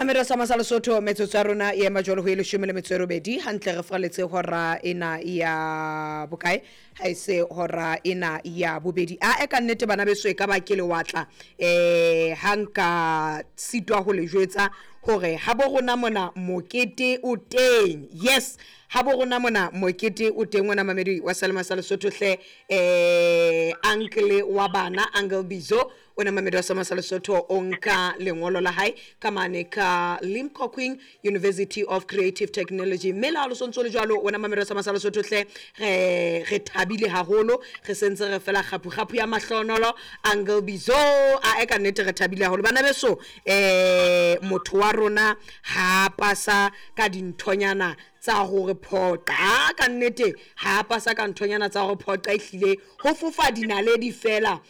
Mamelo sa masa Lesotho, metsotso ya rona e ema jwalo ho e leshome le metso e robedi hantle re fraletse hora ena ya bokae ha e se hora ena ya bobedi. A e ka nnete bana beso e ka ba ke lewatla ha nka sitwa ho le jwetsa hore ha bo rona mona mokete o teng. Yes, ha bo rona mona mokete o teng wena mamedi wa Selema sa Lesotho hle. Uncle wa bana, Uncle Bizo, o na mamedi wa Selema sa Lesotho o nka lengolo la hae ka mane ka Limkokwing University of Creative Technology. Mme le ha le sontso le jwalo wena mamedi wa Selema sa Lesotho hle, re thabile haholo, re sentse re fela kgapu kgapu ya mahlonolo Uncle Bizo. A e ka nnete re thabile haholo bana beso. Motho wa rona ha pasa ka dinthonyana tsa hore phoqa, a ka nnete ha pasa ka nthonyana tsa hore phoqa, ehlile ho fofa dinaledi fela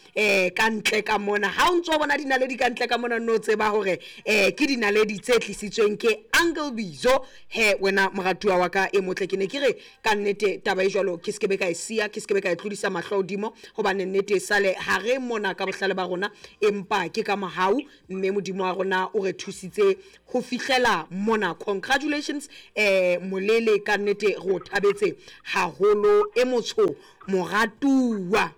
ka ntle ka mona. Ha o ntso bona dinaledi ka ntle ka mona, no tseba hore ke dinaledi tse tlisitsweng ke Uncle Bizo. He wena moratuwa wa ka e motle, ke ne ke re ka nnete taba e jwalo ke skebe ka e siya, ke skebe ka e tlodisa mahlo hodimo, hobane nnete sale ha re mona ka bohlale ba rona, empa ke ka mohau mme Modimo wa rona o re thusitse ho fihlela mona. Congratulations molele, ka nnete re o thabetse haholo e motsho moratuwa.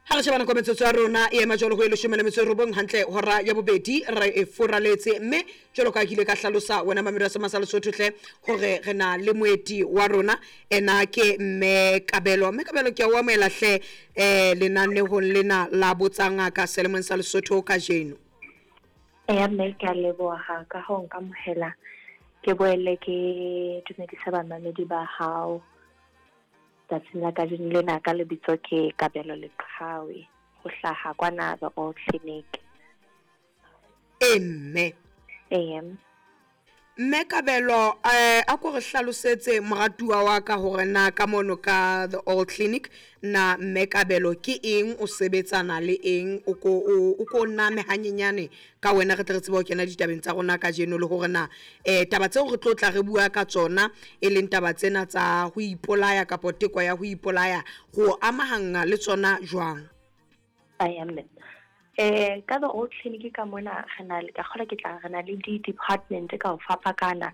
Ha re shebana kwa metsotso ya rona e ema jwalo ho e leshome le metso e robong hantle hora ya bobedi re e foraletse. Mme jwalo ka ke ile ka hlalosa wena mamedi wa Sema sa Lesotho hle hore re na le moeti wa rona, ena ke Mme Kabelo. Mme Kabelo, ke a o amohela hle lenanehong lena la Botsa Ngaka selemong sa Lesotho kajeno. Eya mme, ke a leboha ka ho nkamohela. Ke boele ke dumedisa bamamedi ba hao tsatsing la kajeno lena. Ka lebitso ke Kabelo Leqhawe, ho hlaha kwana The Old Clinic. E mme. Eya. Mme Kabelo, a ko re hlalosetse moratuwa wa ka hore na ka mono ka The Old Clinic na Mme Kabelo ke eng, o sebetsana le eng, o ko name hanyenyane ka wena re tle re tsebe ho kena ditabeng tsa rona kajeno, le hore na taba tseo re tlo tla re bua ka tsona e leng taba tsena tsa ho ipolaya kapa teko ya ho ipolaya, go amahanga le tsona jwang? Eya mme. Ka The Old Clinic ka mona re na le, ka kgola ke tla re na le di-department ka ho fapakana.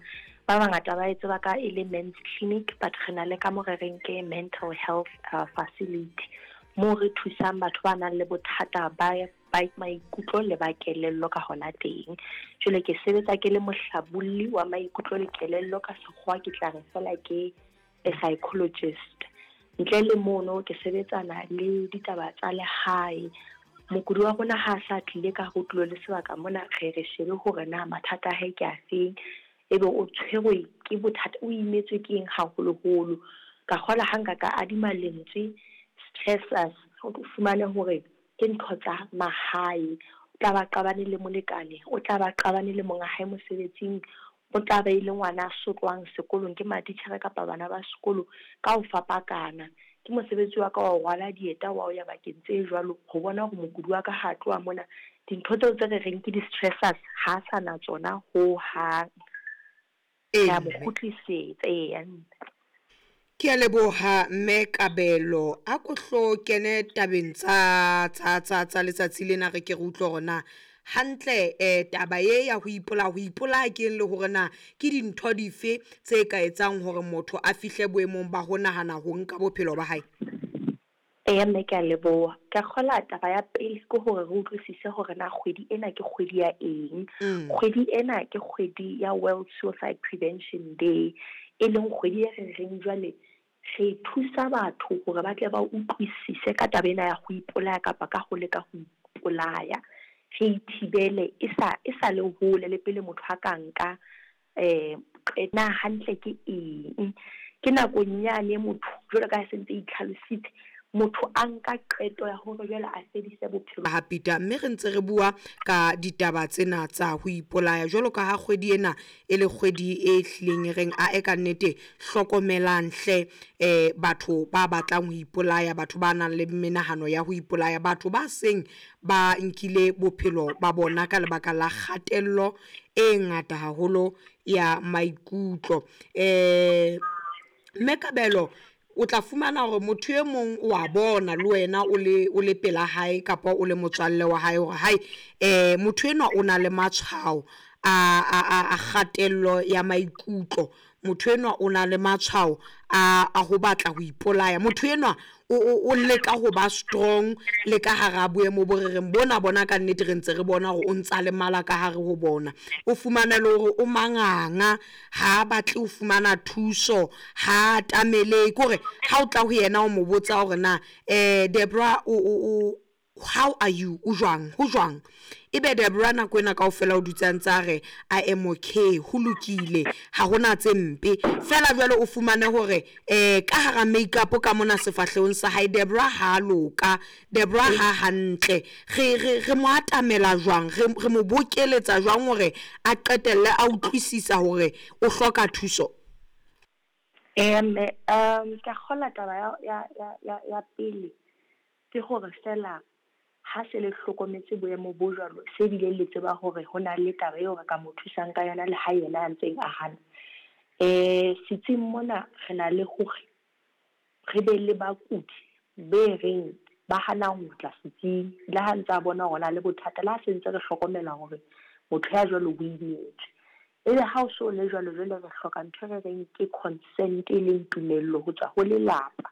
Ba bangata ba e tseba ka e le men's clinic, but re na le ka mo re reng ke mental health facility, moo re thusang batho ba nang le bothata ba maikutlo le ba kelello ka hona teng. Jwale ke sebetsa ke le mohlabolli wa maikutlo le kelello, ka sekgowa ke tla re fela ke a psychologist. Ntle le mono ke sebetsana le ditaba tsa lehae. Mokudi wa rona ha sa tlile ka ho tulo le sebaka mona, re re shebe hore na mathata a hae ke afeng, ebe o tshwerwe ke bothata, o imetswe ke eng haholoholo. Ka kgola ha nka ka adima lentswe stressors, o fumane hore ke ntho tsa mahae. O tla ba qabane le molekane, o tla ba qabane le monga hae mosebetsing, o tla ba ile ngwana a sotlwang sekolong ke matitjhere kapa bana ba sekolo, ka ho fapakana. Ke mosebetsi wa ka wa ho rwala dieta wa ho ya bakeng tse jwalo, ho bona hore mokudi wa ka ha tloha mona dintho tseo tse re reng ke di-stressors ha sa na tsona ho hang. Ke a mo kgutlisetsa. Eya. Ke a leboha Mme Kabelo. A ko hlo kene tabeng tsa tsa tsa tsa letsatsi lena, re ke re utlwe hore na hantle taba e ya ho ipolaya, ho ipolaya ke eng, le hore na ke dintho dife tse ka etsang hore motho a fihle boemong ba ho nahana ho nka bophelo ba hae. Eya mme, ke a leboha. Ke kgola taba ya pele ke hore re utlwisise hore na kgwedi ena ke kgwedi ya eng. Kgwedi ena ke kgwedi ya World Suicide Prevention Day, e leng kgwedi e re reng jwale re thusa batho hore ba tle ba utlwisise ka taba ena ya ho ipolaya kapa ka ho leka ho ipolaya. Re ithibele e sa le hole le pele motho a ka nka na hantle ke eng. Ke nakong yane motho jwalo ka ha se ntse itlhalositse, motho a nka qeto ya hore jwale a fedise bophelo. Ha Peter, mme re ntse re bua ka ditaba tsena tsa ho ipolaya jwalo ka ha kgwedi ena e le kgwedi e hlileng e reng a e ka nnete hlokomelang hle batho ba batlang ho ipolaya, batho ba nang le menahano ya ho ipolaya, batho ba seng ba nkile bophelo ba bona ka lebaka la kgatello e ngata haholo ya maikutlo. Mme Kabelo, o tla fumana hore motho e mong o a bona le wena o le pela hae kapa o le motswalle wa hae hore hae motho enwa o na le matshwao a kgatello ya maikutlo, motho enwa o na le matshwao a ho batla ho ipolaya, motho enwa o leka ho ba strong le ka hara boemo bo re reng bona bona ka nnete re ntse re bona hore o ntsa lemala ka hare ho bona. O fumane le hore o manganga, ha batle ho fumana thuso, ha atamele kore ha o tla ho yena o mo botsa hore na Debra o how are you, o jwang, ho jwang? Ebe Debra nako ena kaofela o dutse a ntse a re I am okay, ho lokile, ha hona tse mpe. Fela jwale o fumane hore ka hara makeup ka mona sefahlehong sa hae Debra ha loka, Debra ha hantle. Re mo atamela jwang, re mo bokeletsa jwang hore a qetelle a utlwisisa hore o hloka thuso? Mme ka kgola taba ya pele ke hore fela ha se le hlokometse boemo bo jwalo, se bile le tseba hore ho na le taba eo re ka mo thusang ka yona le ha yena a ntseng a hana. Setsing mona re na le hore re be le bakudi be reng ba hana ho tla setsing le ha ntse a bona hore na le bothata, le ha se ntse re hlokomela hore motho ya jwalo o imetswe. Ebe ha o so le jwalo, jwale re hloka ntho e re reng ke consent, e leng tumello ho tswa ho lelapa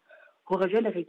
hore jwale re ke